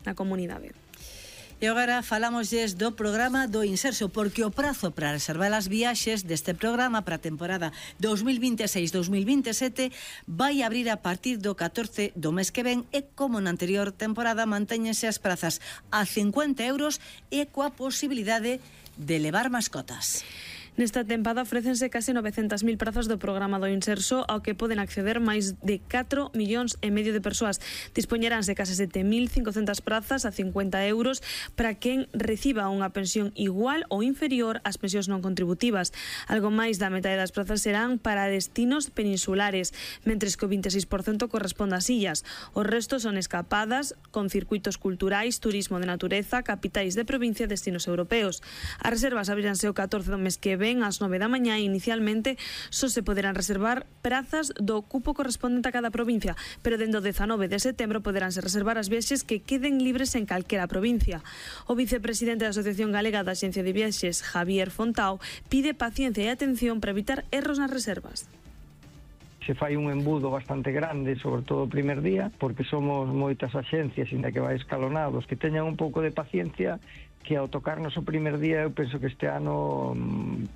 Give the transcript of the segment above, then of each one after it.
na comunidade. E agora falámoslles do programa do Inserso, porque o prazo para reservar as viaxes deste programa para a temporada 2026-2027 vai abrir a partir do 14 do mes que ven e, como na anterior temporada, mantéñense as prazas a 50 euros e coa posibilidade de levar mascotas. Nesta tempada ofrécense case 900.000 prazas do programa do Inserso, ao que poden acceder máis de 4,5 millóns de persoas. Dispoñeránse case 7.500 prazas a 50 euros para quen reciba unha pensión igual ou inferior ás pensións non contributivas. Algo máis da metade das prazas serán para destinos peninsulares, mentres que o 26% corresponde ás illas. O resto son escapadas con circuitos culturais, turismo de natureza, capitais de provincia e destinos europeos. As reservas abriránse o 14 do mes que ven ás 9 da mañá e inicialmente só se poderán reservar prazas do cupo correspondente a cada provincia, pero dende o 19 de setembro poderánse reservar as viaxes que queden libres en calquera provincia. O vicepresidente da Asociación Galega da Axencia de Viaxes, Javier Fontao, pide paciencia e atención para evitar erros nas reservas. Se fai un embudo bastante grande, sobre todo o primer día, porque somos moitas axencias, ainda que vai escalonados, que teñan un pouco de paciencia, que ao tocarnos o primer día eu penso que este ano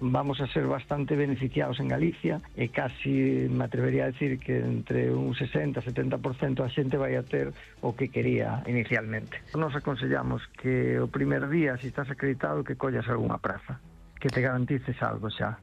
vamos a ser bastante beneficiados en Galicia e casi me atrevería a decir que entre un 60-70% a xente vai a ter o que quería inicialmente. Nos aconsellamos que o primer día, se estás acreditado, que collas algunha praza, que te garantices algo xa.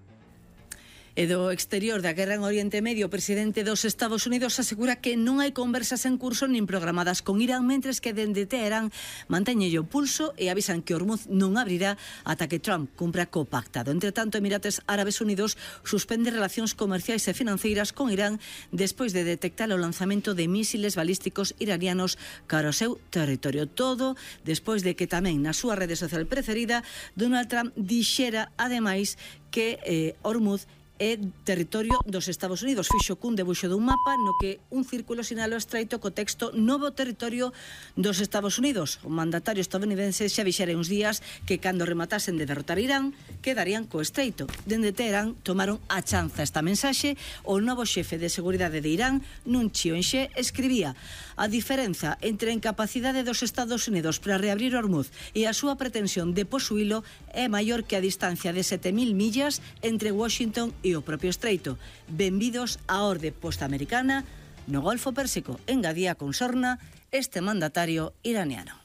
E do exterior da guerra en Oriente Medio, o presidente dos Estados Unidos asegura que non hai conversas en curso nin programadas con Irán, mentres que dende Teherán manteñelle o pulso e avisan que Hormuz non abrirá ata que Trump cumpra co pactado. Entre tanto, Emirates Árabes Unidos suspende relacións comerciais e financeiras con Irán despois de detectar o lanzamento de mísiles balísticos iranianos cara ao seu territorio. Todo despois de que tamén na súa rede social preferida Donald Trump dixera ademais que Hormuz é territorio dos Estados Unidos. Fixo cun debuxo dun mapa no que un círculo sinala o estreito co texto novo territorio dos Estados Unidos. O mandatario estadounidense xa dixera uns días que cando rematasen de derrotar Irán quedarían co estreito. Dende Teherán tomaron a chanza esta mensaxe. O novo xefe de seguridade de Irán, nun chío enxe, escribía: a diferenza entre a incapacidade dos Estados Unidos para reabrir Hormuz e a súa pretensión de posuílo é maior que a distancia de 7.000 millas entre Washington e o propio estreito. Benvidos á orde postamericana no Golfo Pérsico, engadía con sorna este mandatario iraniano.